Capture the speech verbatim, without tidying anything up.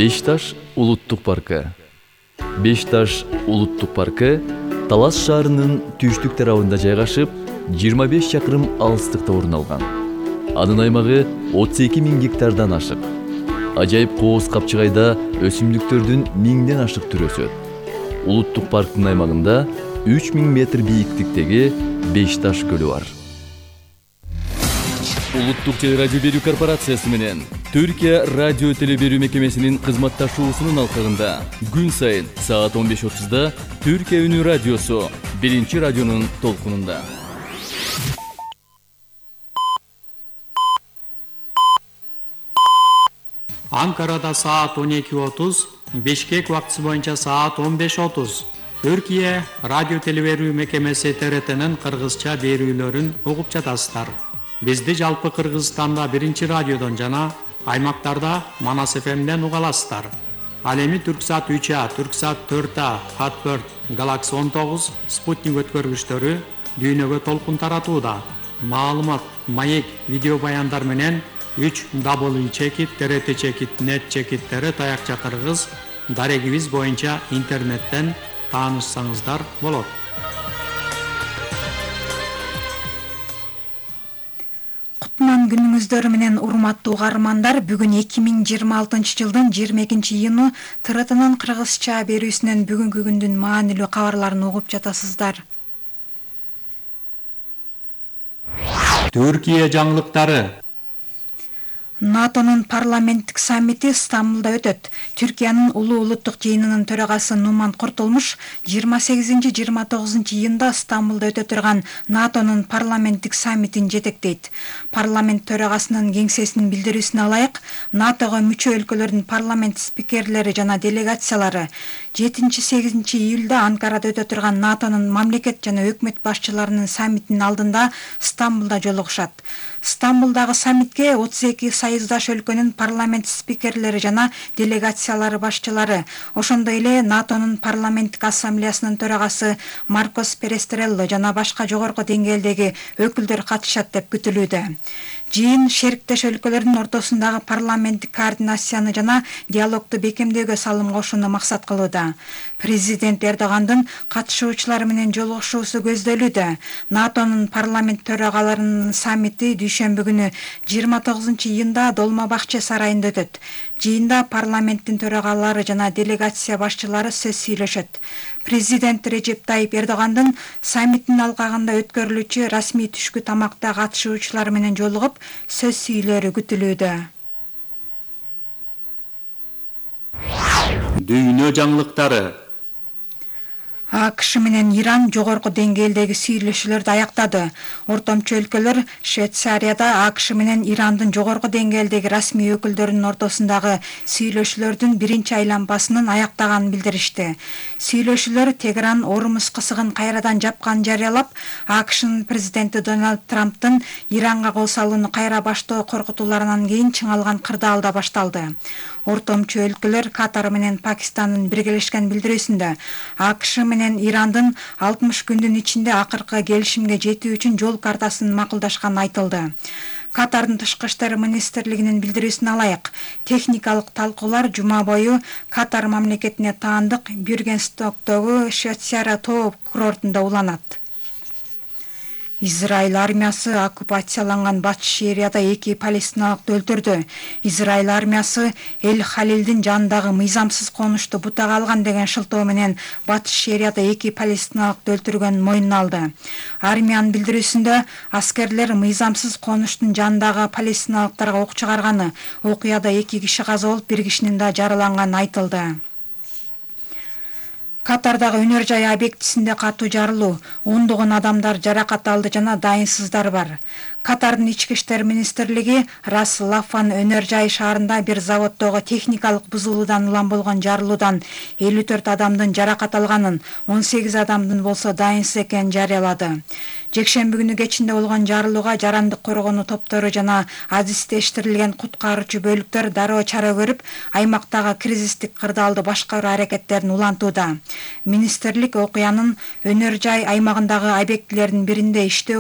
Бешташ улуттук паркы. Бешташ улуттук паркы Талас шаарынын түштүк тарабында жайгашып, жыйырма беш чакырым алыстыкта орун алган. Анын аймагы отуз эки миң гектардан ашык. Ажайып кооз капчыгайда өсүмдүктөрдүн миңден ашык түрү өсөт. Улуттук парктын аймагында үч миң метр бийиктиктеги Бешташ көлү бар. Улуттук телерадио берүү корпорациясы менен Түркия радио теле берүү мекемесинин кызматташуусунун алкагында күн сайын саат он беш отузда Түркия үнү радиосу биринчи радионун толкунунда. Анкарада саат он эки отуз, Бишкек убактысы боюнча саат он беш отуз. Түркия радио теле берүү мекемеси Т Р Т'нин кыргызча берүүлөрүн угуп жатасыздар. Бизди жалпы Кыргызстанда биринчи радиодон жана аймактарда Манас эф эмден уга аласыздар. Ал эми Түрксат үч А, Түрксат төрт А, Хатберт, Галакси он тогуз, Спутник өткөргүчтөрү дүйнөгө толкун таратууда. Маалымат, маек, видео баяндар менен үч дабл ю чекит Т Р Т чекит нет чекит Т Р таякча кыргыз дарегибиз боюнча интернеттен таанышсаңыздар болот. Кутман күнүңүздөр менен урматтуу угармандар, бүгүн эки миң жыйырма алтынчы жылдын жыйырма экинчи июну Т Р Т'нын кыргызча берүүсүнөн бүгүнкү күндүн маанилүү кабарларын угуп жатасыздар. Түркия жаңылыктары. НАТОнун парламенттик саммити Стамбулда өтөт. Түркиянын улуу улуттук жыйынынын төрагасы Нуман Куртулмуш жыйырма сегизинчи жыйырма тогузунчу июнда Стамбулда өтө турган НАТОнун парламенттик саммитин жетектейт. Парламент төрагасынын кеңсесинин билдирүүсүнө ылайык, НАТОго мүчө өлкөлөрдүн парламент спикерлери жана делегациялары жетинчи сегизинчи июлда Анкарада өтө турган НАТОнун мамлекет жана өкмөт башчыларынын саммитинин алдында Стамбулда жолугушат. Стамбулдагы саммитке отуз эки союздаш өлкөнүн парламент спикерлери жана делегациялары башчылары, ошондой эле НАТОнун парламенттик ассамблеясынын төрагасы Маркос Перестрелло жана башка жогорку деңгээлдеги өкүлдөр катышат деп күтүлүүдө. Жыйын шериктеш өлкөлөрдүн ортосундагы парламенттик координацияны жана диалогду бекемдөөгө салым кошууну максат кылууда. Президент Эрдогандын катышуучулар менен жолугушуусу көздөлүүдө. НАТОнун парламент төрагаларынын саммити дүйшөмбү күнү жыйырма тогузунчу июнда Долма Бакчы сарайында өтөт. Жыйында парламенттин төрагалары жана делегация башчылары сөз сүйлөшөт. Президент Режеп Тайип Эрдогандын саммиттин алкагында өткөрүлүүчү расмий түшкү тамакта катышуучулар менен жолугуп сөз сүйлөрү күтүлүүдө. Дүйнө жаңылыктары. АКШ менен Иран жогорку деңгээлдеги сүйлөшүүлөрдү аяктады. Ортомчу өлкөлөр Швейцарияда АКШ менен Ирандын жогорку деңгээлдеги расмий өкүлдөрүнүн ортосундагы сүйлөшүүлөрдүн биринчи айланбасынын аяктаганын билдиришти. Сүйлөшүүлөр Тегеран Ормуз кысыгын кайрадан жапканын жарыялап, АКШнын президенти Дональд Трамптын Иранга кол салууну кайра баштоо коркутууларынан кийин чыңалган кырдаалда башталды. Ортомчу өлкөлөр Катар менен Пакистандын биргелешкен билдирүүсүндө АКШ менен Ирандын алтымыш күндүн ичинде акыркы келишимге жетүү үчүн жол картасын макулдашканы айтылды. Катардын тышкы иштер министрлигинин билдирүүсүнө ылайык, техникалык талкуулар жума бою Катар мамлекетине таандык Бюргенстоктогу Швейцария тоо курортунда уланат. Израиль армиясы оккупацияланган Батыш Шерияда эки палестиналыкты өлтүрдү. Израиль армиясы Эль-Халилдин жанындагы мыйзамсыз конушту бутага алган деген шылтоо менен Батыш Шерияда эки палестиналыкты өлтүргөнүн мойнуна алды. Армиянын билдирүүсүндө аскерлер мыйзамсыз конуштун жанындагы палестиналыктарга ок чыгарганы, окуяда эки киши каза болуп, бир кишинин да жараланганы айтылды. Катардагы өнөр жай объектисинде катуу жарылуу, ондогон адамдар жаракат алды жана дайынсыздар бар. Катардын ички иштер министрлиги Рас Лафан өнөр жай шаарында бир заводдогу техникалык бузулуудан улам болгон жарылуудан элүү төрт адамдын жаракат алганын, он сегиз адамдын болсо дайынсыз экенин жарыялады. Жекшемби күнү кечинде болгон жарылууга жарандык коргонуу топтору жана адистештирилген куткаруучу бөлүктөр дароо чара көрүп, аймактагы кризистик кырдаалды башкаруу аракеттерин улантууда. Министрлик окуянын өнөр жай аймагындагы объектилердин биринде иштөө